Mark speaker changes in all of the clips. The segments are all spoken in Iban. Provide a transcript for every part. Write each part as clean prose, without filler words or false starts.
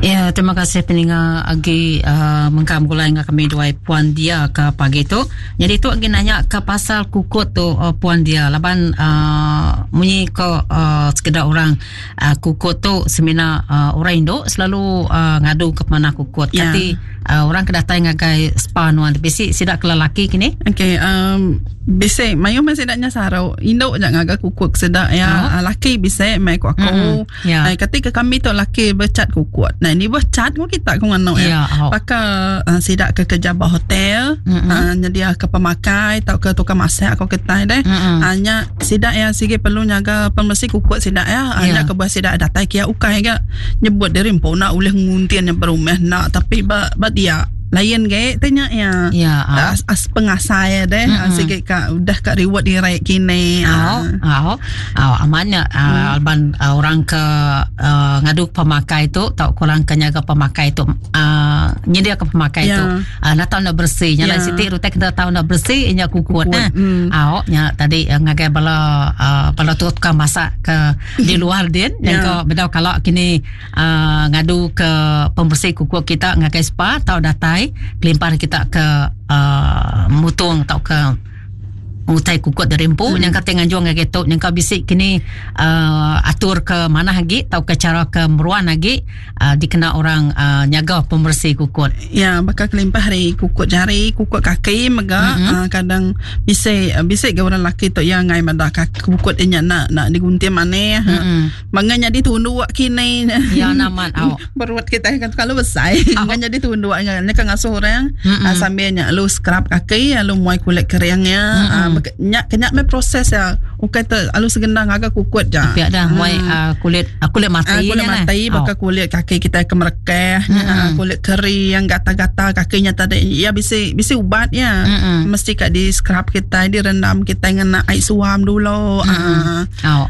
Speaker 1: Ya, terima kasih peninga agi uh, mengkang begulai enggau kami duai Puan Dia ke pagi tu. Jadi tu agi nanya ke pasal kukut tu uh, Puan Dia laban uh, munyi ko uh, sekeda orang uh, kukut tu semina uh, orang indu selalu uh, ngadu ke pemanah kukut.
Speaker 2: Ya.
Speaker 1: Kati uh, orang ke datai ngagai spa nuan bisi sida ke lelaki kini?
Speaker 2: Okey, um, bisi mayuh meh sida nya saru. Indu ja ngaga kukut sida ya. Oh. Laki bisi mai ku aku.
Speaker 1: Mm-mm. Ya.
Speaker 2: Ai kati ke kami tu laki becat kukut. Nah ni boh cat ku kita ku nganu
Speaker 1: ya.
Speaker 2: Ya.
Speaker 1: Oh.
Speaker 2: Paka uh, sida ke kerja ba hotel,
Speaker 1: Mm-mm.
Speaker 2: uh, nyedia ke pemakai tau ke tukang masak ko kita deh.
Speaker 1: Mm-mm.
Speaker 2: Uh, nya sida ya sigi perlu nyaga pemersi kukut sida ya. Uh,
Speaker 1: Ya.
Speaker 2: Nya ke buah sida datai kia ukai ga nyebut diri empu nak ulih nguntin nya berumah nak tapi ba ba dia lain ge tanya ya.
Speaker 1: Ya. Oh.
Speaker 2: As, as pengasai deh
Speaker 1: Mm-mm.
Speaker 2: mm sigi ka udah ka reward diri kini.
Speaker 1: Au,
Speaker 2: Ah.
Speaker 1: au, au amannya uh, alban uh, orang ke uh, ngadu pemakai tu tau kurang ke nyaga pemakai tu uh, nyedia ke pemakai
Speaker 2: Ya.
Speaker 1: tu uh, nak tahu nak bersih nya
Speaker 2: Ya.
Speaker 1: lain siti rutai kita tahu nak bersih nya kukut
Speaker 2: Kukut,
Speaker 1: nah.
Speaker 2: mm.
Speaker 1: Au nya tadi uh, ngagai bala uh, bala tu tukang masak ke di luar din yang
Speaker 2: Ya.
Speaker 1: ke bedau kalau kini uh, ngadu ke pembersih kukut kita ngagai spa tau datai kelimpah kita ke uh, mutung tau ke utai kukut dari empu yang kata nganjung ngagai tu yang kau bisik kini uh, atur ke mana lagi atau ke cara ke meruan lagi uh, dikena orang uh, nyaga pembersih kukut.
Speaker 2: Ya, bakal kelimpah hari kukut jari, kukut kaki mega
Speaker 1: Mm-mm.
Speaker 2: uh, kadang bisik bisik ke orang laki tu yang ngai mada kaki kukut dia nak nak digunting mana.
Speaker 1: Mm-mm.
Speaker 2: Mm. Mangga jadi tunduk kini.
Speaker 1: Ya naman au.
Speaker 2: Perut kita kan kalau besar,
Speaker 1: Au.
Speaker 2: kan jadi tunduk kan kan ngasuh orang
Speaker 1: Mm-mm.
Speaker 2: uh, sambil nyak lu scrub kaki, lu muai kulit keringnya,
Speaker 1: Mm-mm.
Speaker 2: uh, nyak kenyak me proses ya. Ukai te alu segendang agak kukut ja.
Speaker 1: Pihak dah muai uh, kulit uh, kulit mati
Speaker 2: Ah, kulit
Speaker 1: nya lah.
Speaker 2: mati
Speaker 1: Au.
Speaker 2: bakal kulit kaki kita ke merekeh
Speaker 1: Mm-mm.
Speaker 2: ah, kulit kering gatal-gatal kakinya tadi ya bisi bisi ubat ya
Speaker 1: Mm-mm.
Speaker 2: mesti kat di scrub kita direndam kita ngena air suam dulu ah
Speaker 1: Au.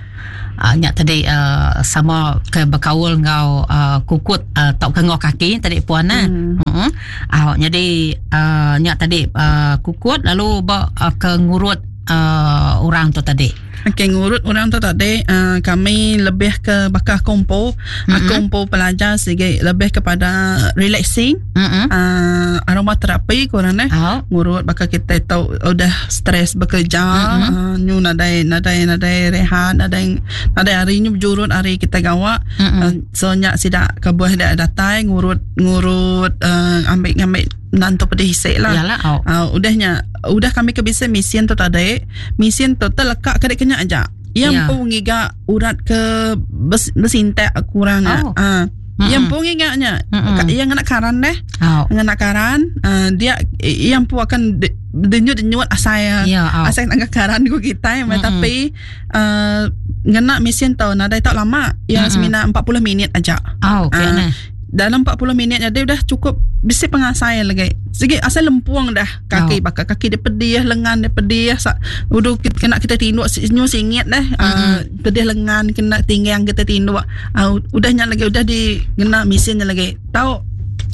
Speaker 1: Uh, nyak tadi uh, sama ke berkaul ngau uh, kukut uh, tau ke ngau kaki tadi puan nah.
Speaker 2: Hmm.
Speaker 1: Hmm. Au jadi uh, nyak tadi uh, kukut lalu ba uh, ke ngurut uh, orang tu tadi.
Speaker 2: Okey ngurut orang tu tadi uh, kami lebih ke bakal kumpul
Speaker 1: Mm-mm.
Speaker 2: aku kumpul pelajar sikit lebih kepada relaxing
Speaker 1: Hmm.
Speaker 2: uh, aromaterapi kurang eh
Speaker 1: Au.
Speaker 2: ngurut bakal kita tahu udah stres bekerja
Speaker 1: Mm-mm.
Speaker 2: uh, nyu nadai nadai nadai rehat nadai nadai hari nyu berjurut hari kita gawak
Speaker 1: Mm-mm.
Speaker 2: uh, so nyak sidak kebuah dak datai ngurut ngurut uh, ambil ambil nantu pedih isik lah
Speaker 1: Yalah au.
Speaker 2: Uh, udahnya udah kami ke bisa mesin tu tadi mesin tu terlekak kedek kenyak aja yang
Speaker 1: Ya.
Speaker 2: pun ngiga urat ke bes, besintek kurang
Speaker 1: Oh.
Speaker 2: oh. uh,
Speaker 1: Mm-mm.
Speaker 2: yang pun ngigaknya
Speaker 1: Mm-mm.
Speaker 2: yang ngena karan deh
Speaker 1: Au.
Speaker 2: ngena karan uh, dia yang pun akan denyut-denyut asai
Speaker 1: Ya au.
Speaker 2: asai nak karan ku kita
Speaker 1: Mm-mm.
Speaker 2: tapi uh, ngena mesin tu nadai tak lama yang
Speaker 1: Mm-mm.
Speaker 2: semina 40 minit aja
Speaker 1: Au
Speaker 2: Ah.
Speaker 1: kena.
Speaker 2: dalam 40 minit jadi udah cukup bisi pengasai lagi. Segi asal lempuang dah kaki
Speaker 1: Oh.
Speaker 2: bakal kaki dia pedih, lengan dia pedih, sa, udah kita, kena kita tinduk nyu singit dah.
Speaker 1: Mm-mm.
Speaker 2: Uh, pedih lengan kena tinggang kita tinduk. Uh, udahnya lagi udah di kena mesinnya lagi. Tahu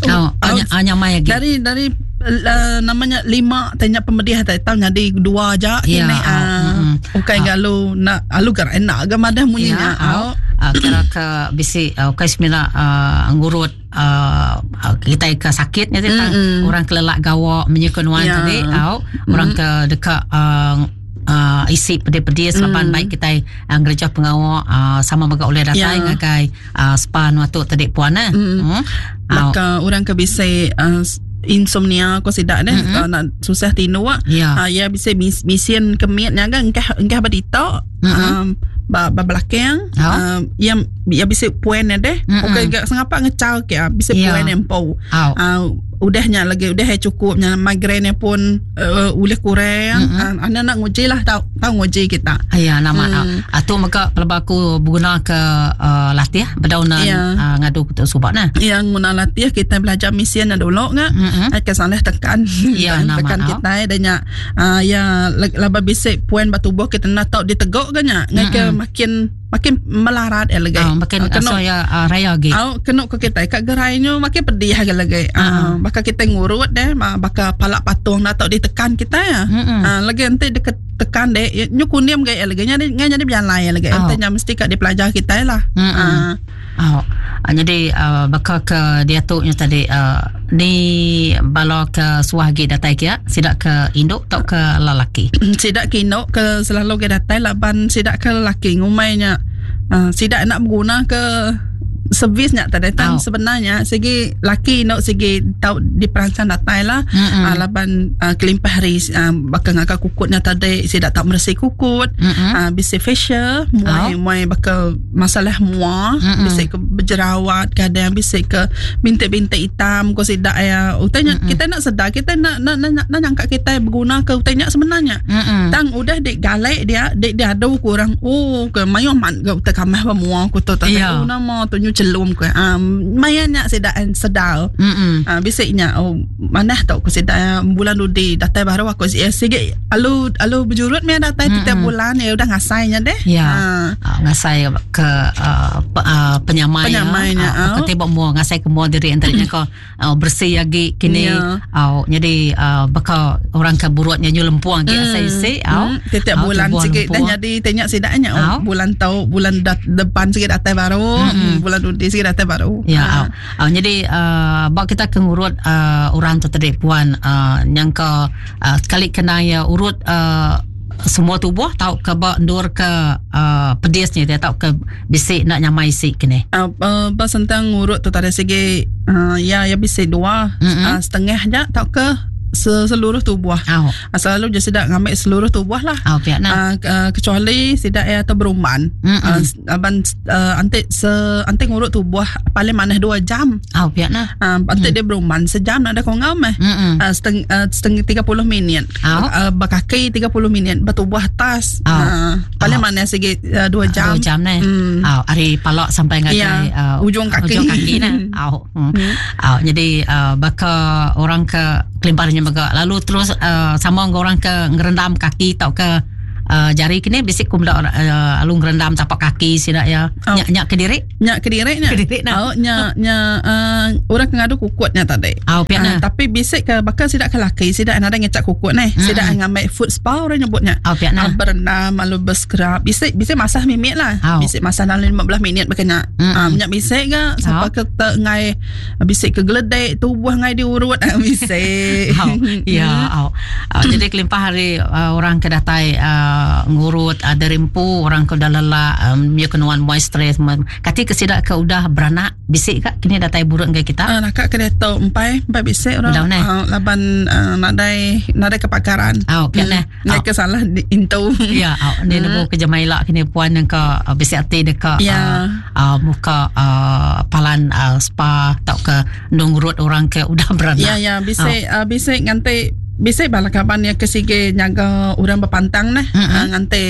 Speaker 1: Au anya anya mai lagi.
Speaker 2: dari dari uh, namanya lima tanya pemedih tak tahu jadi dua aja
Speaker 1: Ya,
Speaker 2: kini
Speaker 1: au.
Speaker 2: ah
Speaker 1: Mm-mm.
Speaker 2: ukai
Speaker 1: Au.
Speaker 2: galu nak alu gar enak ga madah
Speaker 1: Ya,
Speaker 2: bunyinya
Speaker 1: au.
Speaker 2: au.
Speaker 1: Uh, kira ke bisi uh, kai semila uh, ngurut uh, uh, kita ke sakitnya tadi tang
Speaker 2: Mm-mm.
Speaker 1: orang kelelak gawak menyekun wan
Speaker 2: Ya.
Speaker 1: tadi au orang ke dekat uh, uh, isi pedih-pedih selapan
Speaker 2: Mm.
Speaker 1: baik kita uh, ngereja pengawak uh, sama mega oleh datai
Speaker 2: Ya.
Speaker 1: ngagai uh, spa nu tu tadi puan eh.
Speaker 2: Mm.
Speaker 1: Hmm. Au.
Speaker 2: Maka orang ke bisa uh, insomnia ko sidak deh
Speaker 1: Mm-mm.
Speaker 2: mm-hmm. uh, nak susah tidur
Speaker 1: Ya.
Speaker 2: uh, ya bisa mis, mesin kemit nya kan engkah engkah berdito
Speaker 1: Mm-mm.
Speaker 2: um, ba, ba belakang
Speaker 1: Oh.
Speaker 2: um, yang ya bisa puan deh
Speaker 1: Mm-mm.
Speaker 2: okey gak sengapa ngecau ke ah, bisa
Speaker 1: Ya.
Speaker 2: puan empo
Speaker 1: Au.
Speaker 2: uh, udahnya lagi udah cukupnya migraine pun uh, ulih kurang
Speaker 1: Mm-mm.
Speaker 2: mm-hmm. uh, anda nak nguji lah tau tau nguji kita
Speaker 1: Ya nama
Speaker 2: Hmm.
Speaker 1: mm. Atu mega pelaba aku berguna ke uh, latih bedaunan
Speaker 2: Ya.
Speaker 1: uh, ngadu ke subak nah.
Speaker 2: yang guna latih kita belajar mesin dulu ngak
Speaker 1: Mm-mm.
Speaker 2: Ai ke salah tekan
Speaker 1: Ya, nama
Speaker 2: tekan
Speaker 1: au.
Speaker 2: kita dan nya ah, ya laba bisik puan batu tubuh kita nak tau diteguk kan nya ngai ke
Speaker 1: Mm-mm.
Speaker 2: makin makin melarat ya lagi
Speaker 1: Ah, makin
Speaker 2: Ah, kena
Speaker 1: so ya uh, raya lagi.
Speaker 2: Au kena ke kita kat gerai nyu makin pedih lagi lagi.
Speaker 1: Ah.
Speaker 2: Ah, bakal kita ngurut deh, bakal palak patung nak tau ditekan kita ya.
Speaker 1: Mm-mm.
Speaker 2: Ah, lagi nanti dia tekan deh, ya, nyu kunim gaya lagi nya ngai jadi berjalan ya lagi.
Speaker 1: Au.
Speaker 2: Nanti nya mesti kat dipelajar kita lah.
Speaker 1: Mm-mm.
Speaker 2: Ah.
Speaker 1: Oh. Jadi baka ke diatu nya tadi ni bala ke suah agi datai kia sida ke indu tauka lelaki?
Speaker 2: Sida ke indu ke selalu agi datai laban sida ke lelaki ngumbai nya sida enda beguna ke servis nya tadi tang sebenarnya sigi laki indu sigi tau diperansang datai lah laban kelimpah ari baka ngaga kukut nya tadi sida tau meresi kukut bisi facial muai muai baka masalah mua bisi ke bejerawat kadang bisi ke bintik-bintik hitam ko sida iya utai nya kita enda sedar kita enda enda enda nyangka kitai beguna ke utai nya sebenarnya tang udah di galek dia di diadu ku orang oh ke mayuh amat ga utai kamah ba mua ku tu tadi oh nama tu nyu chelum ku um maya nya sida sedar um bisi nya oh manah tu ku sida bulan dudi datai baru aku sigi alu alu bejurut meh datai tiap bulan iya udah ngasai nya deh.
Speaker 1: Ya. Ha. Ngasai ke uh, pe, uh, penyamai
Speaker 2: penyamai nya.
Speaker 1: Uh, ke tibak mua ngasai ke mua diri entara nya ko uh, bersih agi kini. Ya. Uh, jadi uh, baka orang ke burut nya nyu lempuang agi asai isi
Speaker 2: au. Mm. Tiap bulan sikit dah jadi tanya sida nya oh, bulan tau bulan dat, depan sikit datai baru, mm. bulan dudi sikit datai baru.
Speaker 1: Ya. Ha. Uh, jadi uh, ba kita ke ngurut uh, orang tu tadi puan uh, nyangka uh, sekali kena ya urut uh, semua tubuh tau ke ba endur ke uh, pedis ni dia tau ke bisi nak nyamai isi kini.
Speaker 2: Uh, uh, ba sentang ngurut tu tadi segi uh, ya ya bisi dua mm-hmm. uh, setengah ja tau ke seluruh tubuh.
Speaker 1: Oh.
Speaker 2: Selalu je sidak ngambil seluruh tubuh lah.
Speaker 1: Oh, pihak
Speaker 2: nah. Uh, uh, kecuali sidak ya atau berumban.
Speaker 1: Mm-hmm.
Speaker 2: Uh, aban uh, antik se antik ngurut tubuh paling manah 2 jam.
Speaker 1: Oh, pihak nah.
Speaker 2: Uh, antik mm. dia berumban sejam nak ada kau ngam eh.
Speaker 1: Mm-hmm.
Speaker 2: Uh, seteng, uh, setengah 30 minit.
Speaker 1: Oh.
Speaker 2: Uh, berkaki 30 minit bertubuh atas.
Speaker 1: Oh.
Speaker 2: Uh, paling
Speaker 1: oh.
Speaker 2: manah segi 2 uh, jam.
Speaker 1: 2 jam ni.
Speaker 2: Mm.
Speaker 1: Oh, ari palak sampai ngagai
Speaker 2: yeah.
Speaker 1: uh,
Speaker 2: ujung kaki.
Speaker 1: Ujung kaki nah. Oh. Mm. Oh, jadi uh, baka orang ke kelimpahannya mega lalu terus uh, sama dengan orang ke ngerendam kaki tau ke uh, jari kini bisi ku meda uh, lalu ngerendam tapak kaki sida ya.
Speaker 2: Oh.
Speaker 1: Nyak nyak kediri?
Speaker 2: Nyak kediri nya.
Speaker 1: Kediri nah.
Speaker 2: Oh, nya nya uh, orang ke ngadu kukut nya tadi.
Speaker 1: Oh, piak
Speaker 2: uh, tapi bisi ke bakal sida ke laki sida nadai ngecak kukut neh.
Speaker 1: Mm-hmm.
Speaker 2: Sida ngambil foot spa orang nyebutnya.
Speaker 1: Oh, piak nah.
Speaker 2: Uh, berendam lalu berscrub. Bisi bisi masah mimit lah.
Speaker 1: Oh.
Speaker 2: Bisi masah dalam 15 minit berkena.
Speaker 1: Mm-hmm.
Speaker 2: Uh, minyak bisi ke siapa
Speaker 1: Oh.
Speaker 2: ke te ngai bisi ke geledek tubuh ngai diurut bisi.
Speaker 1: Oh, ya, oh. Uh, jadi kelimpah hari uh, orang ke datai uh, ngurut uh, dari empu orang ke udah lelak um, ya kenuan muai stres kati ke sida ke udah beranak bisi ka kini datai buruk enggai kita
Speaker 2: uh, nakak ke diatu empai empai bisi orang
Speaker 1: Udah neh.
Speaker 2: uh, laban uh, nadai nadai kepakaran.
Speaker 1: Oh, piak neh.
Speaker 2: Nadai
Speaker 1: Oh.
Speaker 2: ke salah di, intu.
Speaker 1: Ya, oh, ni nemu ke jemaila kini puan yang ke uh, bisi ati deka
Speaker 2: Ya.
Speaker 1: uh, uh, muka uh, palan uh, spa tau ke nungurut orang ke udah beranak.
Speaker 2: Ya ya bisi oh. uh, bisi nganti bisi bala kaban yang ke sige nyaga orang berpantang nah.
Speaker 1: Mm-mm.
Speaker 2: Uh, nganti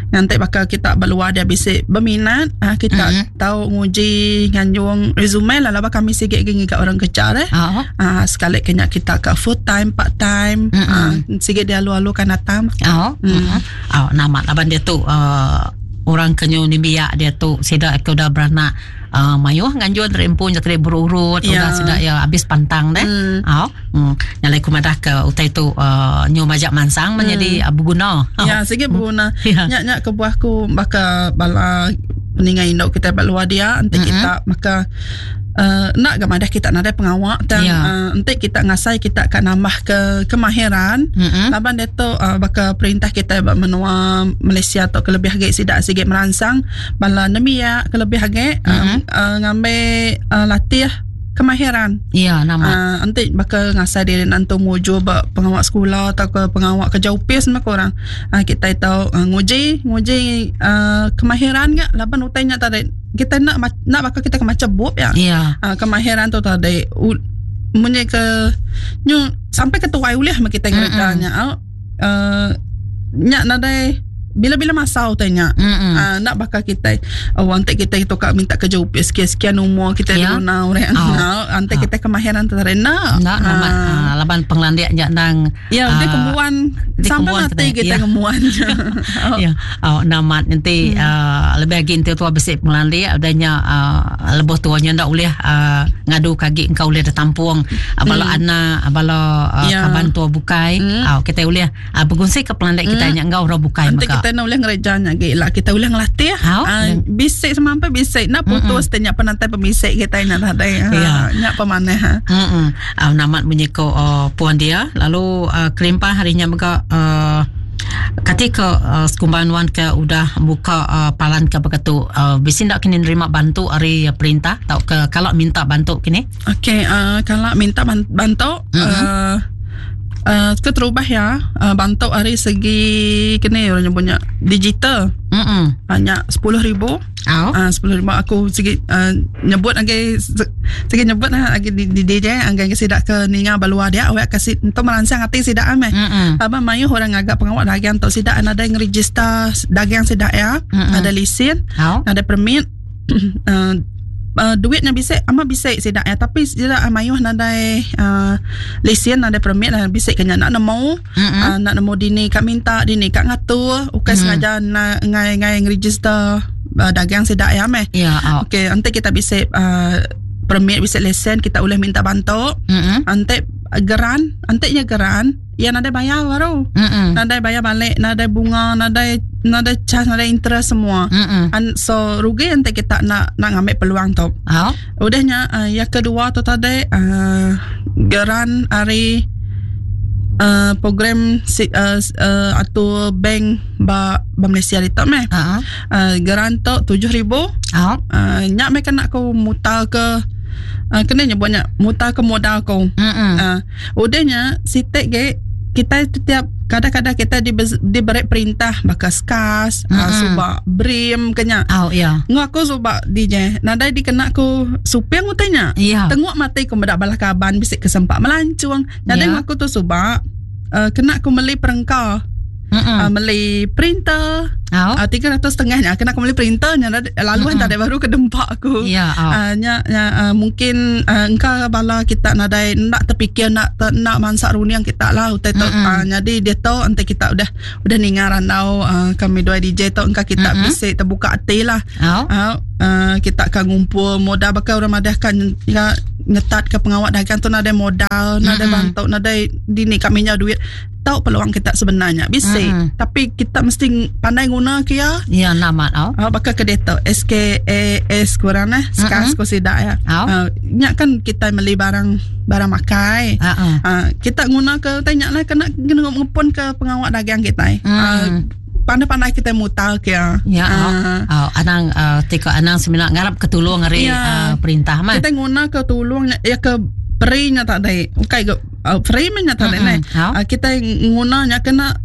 Speaker 2: nganti bakal kita berluar dia bisi berminat uh, kita
Speaker 1: Mm-mm.
Speaker 2: tahu nguji nganjung resume lah laba kami sige gi ngiga orang kerja deh.
Speaker 1: Oh.
Speaker 2: Ah sekali kena kita ke full time part time
Speaker 1: Mm-mm.
Speaker 2: ah sige dia alu-alu kan datang.
Speaker 1: Oh.
Speaker 2: Mm.
Speaker 1: Oh, nama laban dia tu uh, orang ke nyu nembiak dia tu sida ke udah beranak uh, mayuh nganjun terempu nya tadi berurut
Speaker 2: Ya.
Speaker 1: udah sida ya habis pantang deh.
Speaker 2: Mm.
Speaker 1: Oh. Mm. Nyalai ku madah ke utai tu uh, nyu majak mansang menjadi uh, berguna. Oh.
Speaker 2: Ya sige berguna.
Speaker 1: Ya.
Speaker 2: Nyak nyak kebuah ku baka bala peningai induk kita ba luar dia enti
Speaker 1: Mm-mm.
Speaker 2: kita maka uh, nak ga madah kita nadai pengawak tang
Speaker 1: Ya.
Speaker 2: uh, enti kita ngasai kita ka nambah ke kemahiran
Speaker 1: Mm-mm.
Speaker 2: laban dia tu uh, baka perintah kita ba menua Malaysia atau kelebih agi sida sige meransang bala nembiak kelebih agi uh,
Speaker 1: Mm-mm.
Speaker 2: uh, ngambil uh, latih kemahiran
Speaker 1: Ya, nama.
Speaker 2: Uh, enti baka ngasai diri nantu nguju ba pengawak sekolah atau ke pengawak kerja upis mah korang. Uh, kita tahu uh, nguji nguji uh, kemahiran gak laban utai nya tadi kita nak nak baka kita ke maca bup ya.
Speaker 1: Ya.
Speaker 2: Uh, kemahiran tu tadi munyi ke nyu sampai ke tuai ulih mah kita ngeredanya.
Speaker 1: Mm-mm.
Speaker 2: Uh, nyak nadai bila-bila masa utai nya.
Speaker 1: Mm-mm.
Speaker 2: Uh, nak bakal kita oh, antik kita itu kak minta kerja upis sekian-sekian umur kita
Speaker 1: Ya.
Speaker 2: guna orang
Speaker 1: Oh.
Speaker 2: oh. antik
Speaker 1: Ah.
Speaker 2: kita kemahiran terena
Speaker 1: Nak nama uh, laban penglandik nya nang
Speaker 2: ya dia
Speaker 1: ah,
Speaker 2: kemuan
Speaker 1: dia
Speaker 2: sampai
Speaker 1: kemuan
Speaker 2: mati
Speaker 1: katanya.
Speaker 2: kita
Speaker 1: Ya.
Speaker 2: kemuan oh.
Speaker 1: Ya, oh, namat nanti uh, lebih lagi nanti tua besi pengelandik adanya uh, lebih tuanya ndak boleh uh, ngadu kagi engkau boleh ditampung uh, bala anak bala uh,
Speaker 2: Ya.
Speaker 1: kaban tua bukai
Speaker 2: Hmm.
Speaker 1: uh, kita boleh uh, berkongsi ke pengelandik kita nya engkau orang bukai
Speaker 2: Nanti
Speaker 1: maka.
Speaker 2: kita kita nak ulih ngereja nya agi lah kita ulih ngelatih. Uh, bisik semampai bisik nak putus mm-hmm. nya penantai pemisik kita nya tadi. Ha, ya. Nya pemanah. Ha.
Speaker 1: Mm-mm. Uh, namat munyi ko uh, puan dia lalu uh, kelimpah hari nya mega uh, kati ke uh, sekumban wan ke udah buka uh, palan ke beketu uh, bisi ndak kini nerima bantu ari perintah tau ke kalau minta bantu kini?
Speaker 2: Okey, uh, kalau minta bantu mm-hmm. uh, uh, keterubah ya uh, bantu ari segi kini orang nyebutnya digital.
Speaker 1: Mm-hmm.
Speaker 2: Banyak 10,000.
Speaker 1: Oh.
Speaker 2: 10,000 aku segi uh, nyebut lagi segi nyebut lah lagi di, di DJ anggai ke sidak ke ninga balua dia awak kasih untuk merangsang hati sidak ame.
Speaker 1: Mm-hmm.
Speaker 2: Abang mayuh orang agak pengawak dagang untuk sidak ada yang register dagang sidak ya,
Speaker 1: Mm-mm.
Speaker 2: ada lesen,
Speaker 1: Oh.
Speaker 2: ada permit. uh, uh, duitnya bisik ama bisik sidak ya tapi sidak mayuh nadai uh, lesen nadai permit uh, bisik kena nak nemu
Speaker 1: Mm-mm.
Speaker 2: uh, nak nemu dini kak minta dini kak ngatur ukai
Speaker 1: Mm.
Speaker 2: sengaja na, ngai ngai ngeregister uh, dagang sidak ya meh.
Speaker 1: Ya, oh.
Speaker 2: Okey, nanti kita bisik uh, permit bisik lesen kita boleh minta bantu.
Speaker 1: Mm-mm.
Speaker 2: Nanti geran, nanti nya geran, ya nadai bayar baru.
Speaker 1: Mm-mm.
Speaker 2: Nadai bayar balik, nadai bunga, nadai nadai charge, nadai interest semua.
Speaker 1: Mm-mm.
Speaker 2: And so rugi nanti kita nak nak ngambil peluang tu.
Speaker 1: Oh.
Speaker 2: Udahnya uh, yang kedua tu tadi uh, geran hari uh, program si, uh, uh, atau bank ba, ba Malaysia itu meh.
Speaker 1: Uh-huh.
Speaker 2: Uh, geran tu 7000
Speaker 1: Oh.
Speaker 2: uh, nyak mereka nak ku mutar ke uh, kena nyebutnya mutar ke modal ku.
Speaker 1: Mm-mm.
Speaker 2: Uh, udahnya sitek ge kita setiap kadang-kadang kita diberi perintah bakal skas, mm-hmm. uh, subak brim kenya.
Speaker 1: Oh, ya.
Speaker 2: Ngaku subak DJ. Nadai dikena ku supir ngutanya.
Speaker 1: Ya.
Speaker 2: Tengok mati ku medak balah kaban bisik kesempak melancung. Nadai
Speaker 1: Ya.
Speaker 2: ngaku tu subak uh, kena ku meli perengka,
Speaker 1: Mm-mm.
Speaker 2: uh, meli printer.
Speaker 1: Oh.
Speaker 2: Uh, 300 nya kena aku meli printernya lalu
Speaker 1: Mm-mm.
Speaker 2: mm-hmm. baru kedempak aku.
Speaker 1: Ya, oh.
Speaker 2: Uh, nya, nya uh, mungkin uh, engkau bala kita nadai nak terfikir nak ter, nak mansak runiang kita lah utai tu
Speaker 1: Mm-mm.
Speaker 2: uh, jadi dia tu nanti kita udah udah ningar randau uh, kami dua DJ tu engkau kita
Speaker 1: Mm-mm.
Speaker 2: bisa terbuka hati lah
Speaker 1: Oh.
Speaker 2: uh, uh, kita akan ngumpul modal bakal orang madah kan ya, ngetat ke pengawak dagang tu nadai modal nadai
Speaker 1: Mm-mm.
Speaker 2: bantu nadai dini kami nya duit tahu peluang kita sebenarnya bisa
Speaker 1: Mm-mm.
Speaker 2: tapi kita mesti pandai guna ke ya
Speaker 1: Ya, namat oh.
Speaker 2: Oh, bakal ke dia SKAS kurang eh SKAS ko sidak ya.
Speaker 1: Oh.
Speaker 2: Uh, nyak kan kita beli barang barang makai.
Speaker 1: Uh-uh.
Speaker 2: Uh, kita guna ke tanya lah kena kena ngepun ke pengawak dagang kita.
Speaker 1: Mm.
Speaker 2: Uh, pandai-pandai kita mutar ke ya.
Speaker 1: Ya, oh.
Speaker 2: Uh,
Speaker 1: Oh, anang uh, tika anang semina ngarap ketulung ari
Speaker 2: Ya.
Speaker 1: uh, perintah mah.
Speaker 2: kita guna ke tolong ya ke free nya tak ada. Ukai ke uh, free nya tak ada
Speaker 1: Mm-mm.
Speaker 2: ne.
Speaker 1: Oh.
Speaker 2: Uh, kita guna nya kena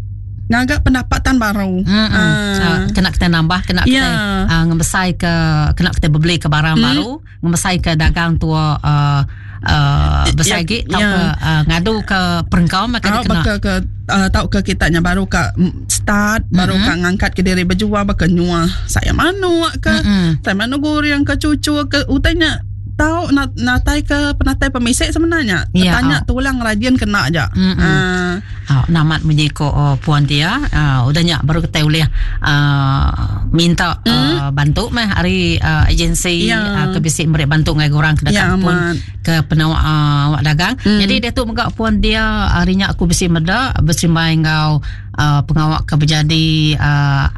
Speaker 2: ngagak pendapatan baru.
Speaker 1: Mm-mm.
Speaker 2: Ah.
Speaker 1: Uh, kena kita nambah, kena kita
Speaker 2: Ya.
Speaker 1: uh, ngemesai ke kena kita beli ke barang
Speaker 2: Mm.
Speaker 1: baru, ngemesai ke dagang tua uh, uh, besar
Speaker 2: Ya,
Speaker 1: lagi tau
Speaker 2: ya.
Speaker 1: ke uh, ngadu ke perengkau maka
Speaker 2: Ah,
Speaker 1: dia kena.
Speaker 2: baka ke uh, tahu ke kita nya baru ka start baru
Speaker 1: Mm-mm.
Speaker 2: ka ngangkat ke diri berjual baka nyua saya manuk ke
Speaker 1: Mm-mm.
Speaker 2: saya manuk goreng ke cucu ke utanya tahu nak natai ke penatai pemisik sebenarnya
Speaker 1: Ya,
Speaker 2: tanya tulang rajin kena aja
Speaker 1: Mm-mm.
Speaker 2: Ah,
Speaker 1: Oh, namat munyi ko oh, puan dia uh, udah nyak baru kita boleh uh, minta uh, bantu mah hari uh, agensi
Speaker 2: Ya.
Speaker 1: uh, ke bisik mereka bantu ngai orang ke
Speaker 2: Ya,
Speaker 1: dekat pun
Speaker 2: amat.
Speaker 1: ke penawak uh, awak dagang.
Speaker 2: Mm.
Speaker 1: Jadi dia tu megak puan dia hari nyak aku bisik meda berserimbai ngau uh, pengawak ke berjadi uh,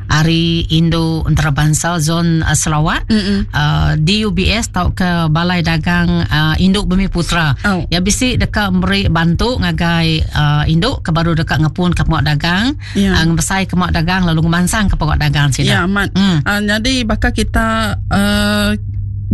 Speaker 1: Hari Indo Antarabangsa Zon uh, Sarawak
Speaker 2: Mm-mm.
Speaker 1: uh, DUBS tau ke Balai Dagang uh, Induk Bumi Putra.
Speaker 2: Oh.
Speaker 1: Ya bisi dekat meri bantu ngagai uh, induk ke baru dekat ngepun ke pengawak dagang,
Speaker 2: Ya.
Speaker 1: uh, ngebesai ke pengawak dagang lalu ngemansang ke pengawak dagang sini.
Speaker 2: Ya, amat.
Speaker 1: Hmm.
Speaker 2: Uh, jadi bakal kita uh,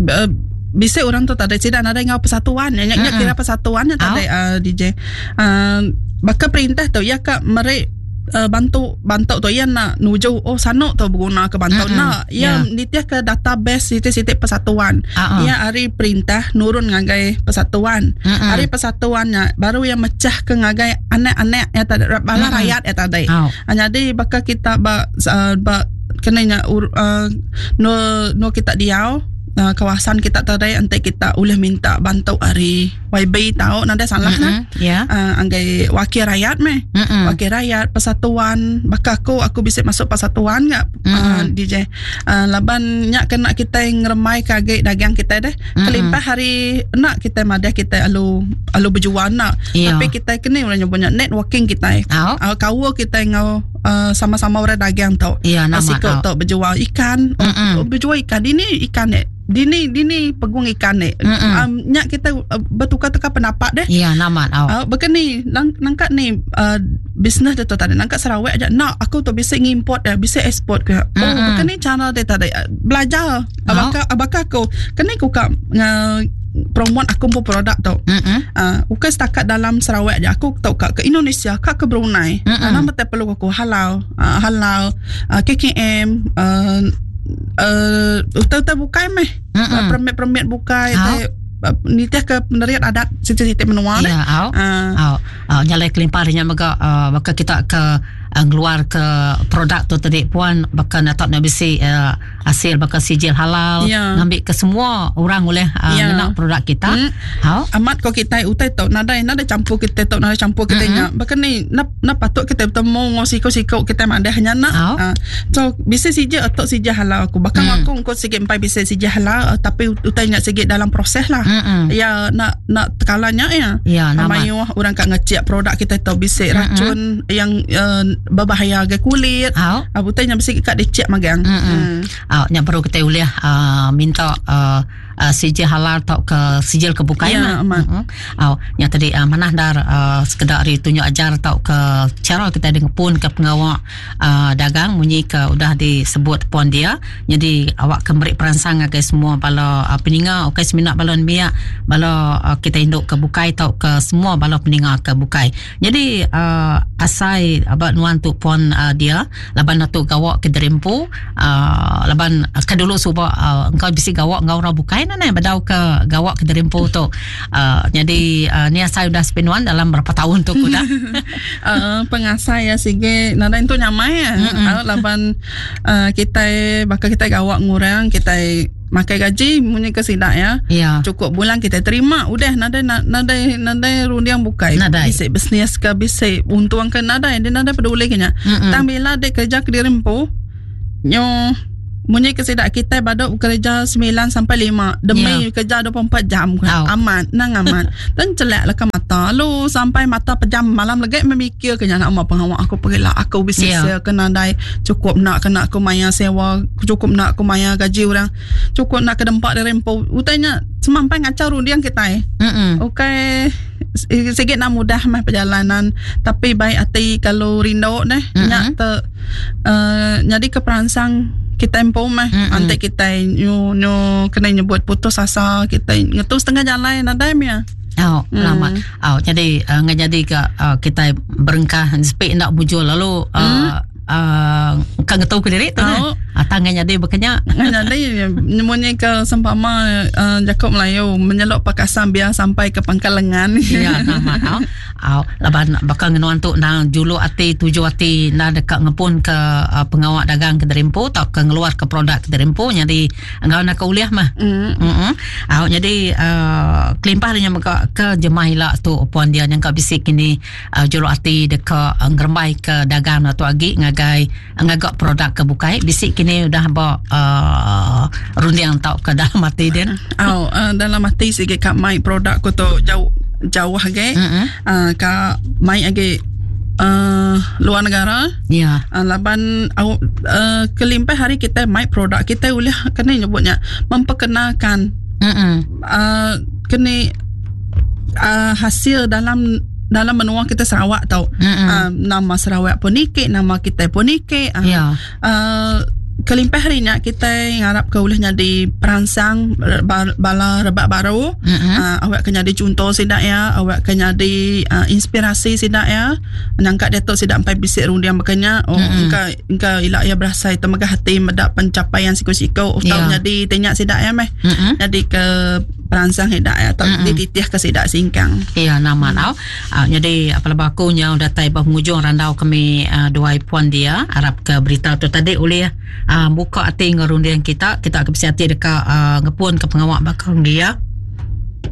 Speaker 2: uh, bisa orang tu tak ada tidak ada ngau persatuan ya
Speaker 1: Mm-mm.
Speaker 2: kira persatuan ya tak ada uh, DJ. Uh, bakal perintah tu ya kak merek uh, bantu bantu tu ya nak nuju oh sanuk tu berguna ke bantu
Speaker 1: Mm-mm.
Speaker 2: nak ya
Speaker 1: Ya.
Speaker 2: nitiah ke database sitik-sitik persatuan.
Speaker 1: Ah, ah.
Speaker 2: Ya hari perintah nurun ngagai persatuan.
Speaker 1: Mm-mm.
Speaker 2: Hari persatuannya baru yang mecah ke ngagai anak-anak ya tak ada bala
Speaker 1: Mm-mm.
Speaker 2: rakyat ya tak ada.
Speaker 1: Oh.
Speaker 2: Ah, jadi bakal kita ba, uh, ba kena nya ur, uh, no no kita diau uh, kawasan kita tadi nanti kita boleh minta bantu hari YB tahu nanti salah nah.
Speaker 1: Mm-mm. Ya.
Speaker 2: Uh, anggai wakil rakyat meh.
Speaker 1: Mm-mm.
Speaker 2: Wakil rakyat persatuan bakal aku aku bisa masuk persatuan enggak
Speaker 1: Mm-mm.
Speaker 2: uh, DJ uh, laban nyak kena kita ngeremai kage dagang kita deh
Speaker 1: Mm-mm.
Speaker 2: kelimpah hari nak kita madah kita alu alu berjual nak
Speaker 1: Ya.
Speaker 2: tapi kita kena orang nyebutnya networking kita
Speaker 1: Oh.
Speaker 2: uh, kawa kita ngau sama-sama orang dagang tu.
Speaker 1: Ya, nama
Speaker 2: Siku tu bejual ikan, oh, bejual ikan dini ikan ni. Dini dini pegung ikan ni. Nya kita bertukar-tukar pendapat deh.
Speaker 1: Ya, nama
Speaker 2: tau. Bukan ni nang, nangkat ni bisnes dia tu tadi nangkat Sarawak aja. Nak aku tu bisa ngimport dia, bisa ekspor ke. Oh, bukan ni cara dia tadi belajar. Abaka abaka aku kena aku kak promote aku pun produk tu. Bukan setakat dalam Sarawak aja. Aku tahu kak ke Indonesia, kak ke Brunei. Nama tak perlu aku halal, halal KKM, utai-utai bukai meh. Permit-permit bukai nitih ke penerian adat siti-siti menua.
Speaker 1: Ya, au. Au. Au nyalai kelimpah nya mega baka kita ke ngeluar ke produk tu tadi puan baka nak nak bisi hasil baka sijil halal ngambil ke semua orang boleh ngena produk kita.
Speaker 2: Au. Amat ko kita utai tu nadai nadai campur kita tu nadai campur kita nya. Baka ni na, na patut kita bertemu ngau siko-siko kita madah nya nak. So bisa sijil atau sijil halal aku. Bahkan aku engkau sikit empai bisa sijil halal tapi utai nya sikit dalam proses lah. Ya nak nak tekalanya ya.
Speaker 1: Ya, nama.
Speaker 2: Mayuh orang kat ngecek produk kita tu bisa racun yang berbahaya ke kulit. Utai nya bisa kat dicek magang.
Speaker 1: Au nya baru kita boleh minta sijil halal atau ke sijil kebukai
Speaker 2: ya,
Speaker 1: mah. Au nya tadi manah dar sekedar hari tunjuk ajar atau ke cara kita dengan pun ke pengawak dagang munyi ke udah disebut puan dia. Jadi awak ke beri perangsang ke semua bala peninga okey seminak bala miak bala kita induk ke bukai atau ke semua bala peninga ke bukai. Jadi asai abak nuan tu puan dia laban tu gawak ke derimpu laban ke dulu suba engkau bisi gawak ngau orang bukai nane badau ke gawak ke derimpu tu. Jadi ni asai udah sepinuan dalam berapa tahun tu udah.
Speaker 2: Pengasai ya sige nadai tu nyamai ya. Laban kita bakal kita gawak ngurang kita makai gaji munyi ke sidak ya.
Speaker 1: Ya.
Speaker 2: Cukup bulan kita terima udah nadai nadai nadai rundiang bukai. Bisa bisnes ke bisa untung ke nadai dia nadai peduli kenya. Tang bila dia kerja ke dirempu nyo munyi ke sidak kita badok kerja 9 sampai 5 demi kerja 24 jam. Amat nang amat. Dan celak lah ke mata lu sampai mata pejam malam lagi memikir kenya nak apa pengawak aku pergilah aku bisa yeah. Kena dai cukup nak kena aku maya sewa cukup nak aku maya gaji orang cukup nak ke dempak dari rempo utainya semampai ngacau rundiang kita. Okey sikit nak mudah mah perjalanan tapi baik hati kalau rindu neh nyak te jadi keperansang kita empu mah nanti kita nyu nyu kena nyebut putus asa kita ngetu setengah jalan nadai mia.
Speaker 1: Oh, lama. Oh, jadi ngajadi ke kita berengkah sepik nak bujul lalu kan ngetu ke diri tu kan. Tangan jadi berkenya.
Speaker 2: Jadi nyemunyi ke sempama Jakob Melayu menyelok pakasan biar sampai ke pangkal lengan.
Speaker 1: Ya, nama au. Au, laban bakal ngenuan tu nang julu ati tuju ati nang dekat ngepun ke pengawak dagang ke derimpu atau ke ngeluar ke produk ke derimpu jadi engau nak ke uliah mah. Au jadi kelimpah dia mega ke jemah ilak tu puan dia yang ka bisik kini julu ati dekat ngerembai ke dagang atau agi ngagai ngagak produk ke bukai bisik kini udah ba rundiang tau ke dalam hati dia.
Speaker 2: Au dalam hati sikit kat mai produk ku tu jauh jauh age. Ka mai age luar negara.
Speaker 1: Ya.
Speaker 2: Laban kelimpah hari kita mai produk kita boleh kena nyebutnya memperkenalkan. Kena hasil dalam dalam menua kita Sarawak tau. Nama Sarawak pun nikik, nama kita pun nikik. Kelimpah hari ni kita ngarap ke boleh jadi perangsang bala rebak baru. Awak kena jadi contoh sidak ya, awak kena jadi inspirasi sidak ya. Nangkat dia tu sidak sampai bisik rundiang berkenya. Oh, engkau engkau ilak ya berasai temegah hati medak pencapaian siku-siku atau jadi tanya sidak ya meh. Jadi ke perangsang hidak ya atau dititih ke sidak singkang.
Speaker 1: Ya, nama tau. Jadi apa bakunya datai bah penghujung randau kami dua puan dia harap ke berita tu tadi oleh buka hati ngerundian kita, kita ke hati dekat ngepun ke pengawak bakal dia.